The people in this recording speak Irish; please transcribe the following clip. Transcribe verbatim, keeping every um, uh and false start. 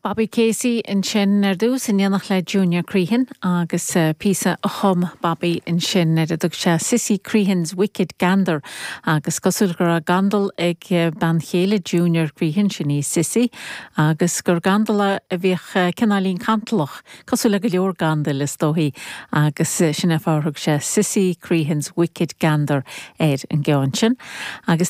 Bobby Casey ansin ar dtús in éineacht le Junior Crehan agus uh, píosa a chum Bobby ansin ar a dtug sé Sissy Crehan's Wicked Gander agus cosúil go raibh gandal ag eh, bean chéile Junior Crehan sin í Sissy agus gur gandal a bhíodh eh, cineáilín cantalach cosúil le go leor gandail is dóichí agus sin an fáth ar thug sé Sissy Crehan's Wicked Gander ar an gceann sin. Agus